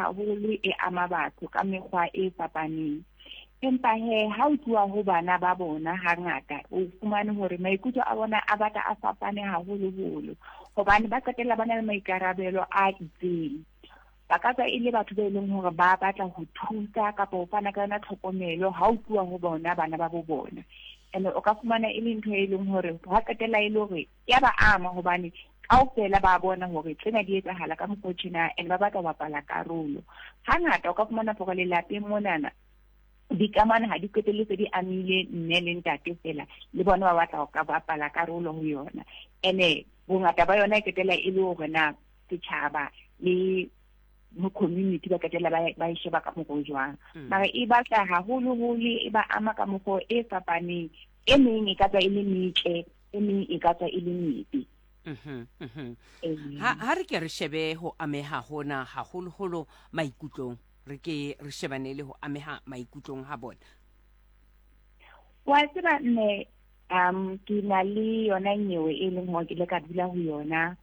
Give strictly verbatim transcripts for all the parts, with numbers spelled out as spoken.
haholo e ama batho ka mekgwa e fapaneng. Empa he ha o tluwa ho bana ba bona hangata o fumane hore maikutlo a bona a batla a fapane haholoholo, hobane ba qetella ba na le maikarabelo a itseng. Ba ka tswa e le batho ba e leng hore ba batla ho thusa kapa ho fana ka yona tlhokomelo ha o tluwa ho bona bana ba bo bona. Ene o ka fumana e le ntho e leng hore ha qetella e le hore ya ba ama, hobane kaofela ba bona hore tsena di etsahala ka mokgwa o tjena, and ba batla ho bapala karolo. Hangata o ka fumana hore lelapeng monana dikamano ha di qetelle se di amile mme le ntate fela, le bona ba batla ho ka bapala karolo ho yona. Ene bongata ba yona e qetella e le hore na setjhaba le mo community ba qetella ba, ba e sheba ka mokgwa o jwang. Mm. Mara e batla haholoholo e ba ama ka mokgwa e fapaneng. E meng e ka tswa e le metle, e meng e ka tswa e le mebe. Mhm, mhm. Ee. Ha, ha re ke re shebe ho ameha hona haholoholo maikutlong, re ke re shebane le ho ameha maikutlong ha bona. Wa tseba mme, um, ke na le yona nyewe e leng hore ke ile ka dula ho yona,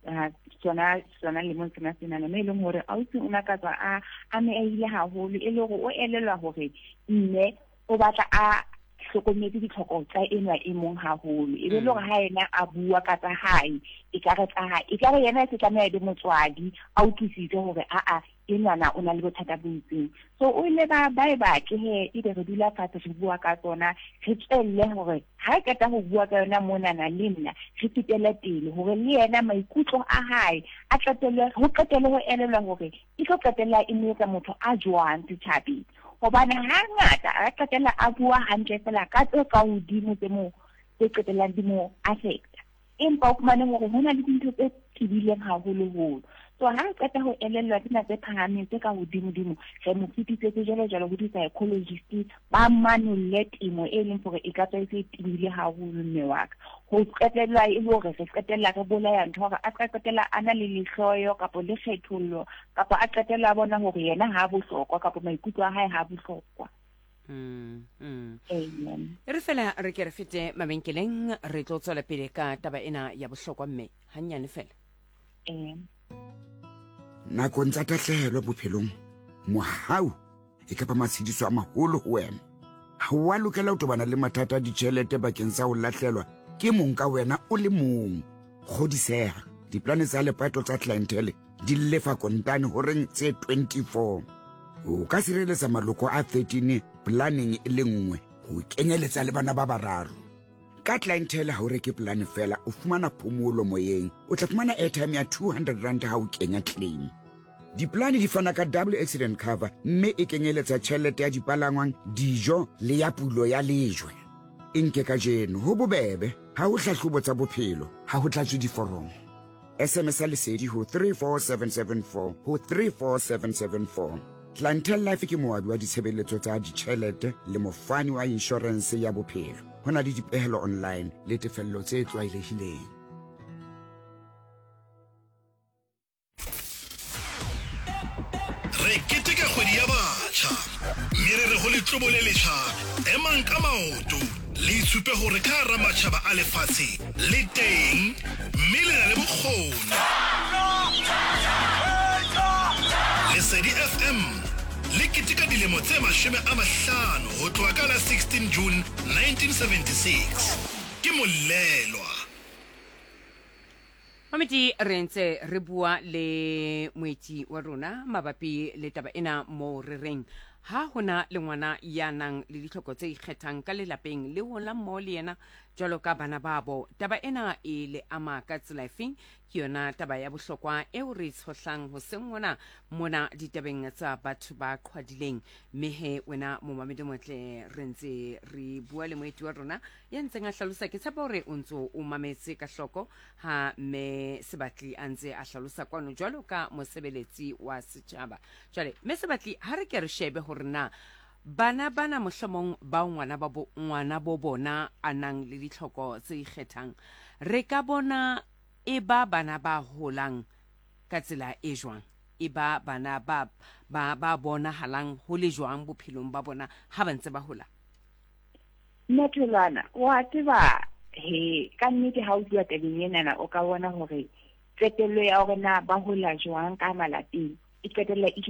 ah, sona, sona lemong sena senana, mme e leng hore ausi o na ka tswa a amehile haholo, e le hore o elellwa hore mme o batla a hlokometse ditlhoko tsa enwa e mong haholo. E be le hore Mm. ha yena a bua ka tsa hae, e ka re tsa hae, e ka re yena e se tlameha e be motswadi, a utlwisise hore aa, enwana o na le bothata bo itseng. So o ile ba, ba e batle he, ebe re dula fatshe re bua ka tsona, re tswelle hore ha re qeta ho bua ka yona monana le nna, re fetele pele hore le yena maikutlo a hae a qetelle, ho qetelle ho elellwa hore e tlo qetella e mo etsa motho a jwang setjhabeng. Hobane hangata a qetella a bua hantle fela ka tse ka hodimo tse mo, tse qetellang di mo affecta. Empa o fumane hore ho na le dintho tse tebileng haholoholo. So ha re qeta ho elellwa tsena tse phahameng tse ka hodimodimo, re mo fetisetse jwalo jwalo ho di-psychologist ba manolle temo e leng hore e ka tswa e se e tebile haholo mme wa ka. Ho qetella e le hore re qetella re bolaya ntho hore a ka qetella a na le lehloyo kapa le kgethollo, kapa a qetella a bona hore yena ha bohlokwa kapa maikutlo a hae ha bohlokwa. Mm, mm. Amen. E re fela re ke re fete mabenkeleng, re tlo tswela pele ka taba ena ya bohlokwa mme hannyane fela. Amen. Nakong tsa tahlehelo bophelong, mohau e ka ba matshediso a maholo ho wena. Ha wa lokela ho tobana le mathata a ditjhelete bakeng sa ho lahlelwa ke mong ka wena o le mong. Kgodiseha, diplane tsa lepato tsa Clientele di lefa kontane horeng tse twenty-four. O ka sireletsa maloko a thirteen planeng e le nngwe, ho kenyeletsa le bana ba bararo. Ka Clientele ha o reke plane fela, o fumana phomolo moyeng. O tla fumana airtime ya two hundred rand ha o kenya claim. Diplane di fana ka double accident cover, mme e kenyeletsa tjhelete ya dipalangwang, dijo le ya pulo ya lejwe. E nke kajeno, ho bobebe, ha ho hlahlobo tsa bophelo, ha ho tlatswe diforomo. S M S ya lesedi ho three four seven seven four ho three four seven seven four. Clientele Life ke moabi wa ditshebeletso tsa ditjhelete le mofani wa inshorense ya bophelo. Ho na le dipehelo online le tefello tse tlwaelehileng. Re keteka kgwedi ya batjha, mme re re ho letlobo le letjha, emang ka maoto, le itshupe hore ka hara matjhaba a lefatshe le teng, mme le na le bokgoni. Lesedi F M le keteka dilemo tse mashome a mahlano ho tloha ka la sixteen June nineteen seventy-six. Ke molelwa. Mamedi, re ntse re bua le moetsi wa rona mabapi le taba ena moo re reng ha hona le ngwana ya nang le ditlhoko tse ikgethang ka lelapeng le hola mmoho le yena jwalo ka bana babo, taba ena e le ama ka tsela efeng? Ke yona taba ya bohlokwa eo re e tshohlang hoseng hona mona ditabeng tsa batho ba qhwadileng. Mme he wena momamedi motle, re ntse re bua le moeti wa rona ya ntseng a hlalosa. Ke tshepa hore o ntso o mametse ka hloko ha mme Sebatli a ntse a hlalosa kwano jwalo ka mosebeletsi wa setjhaba. Jwale mme Sebatli, ha re ke re shebe hore na bana bana mohlomong bao ngwana ba bo, ngwana bo bona a nang le ditlhoko tse ikgethang, re ka bona e ba bana ba holang ka tsela e jwang? E ba bana ba, ba, ba bonahalang ho le jwang bophelong ba bona ha ba ntse ba hola? Mme Tholwana, wa tseba he ka nnete ha o bua tabeng enana, o ka bona hore qetello ya hore na ba hola jwang ka malapeng e qetella e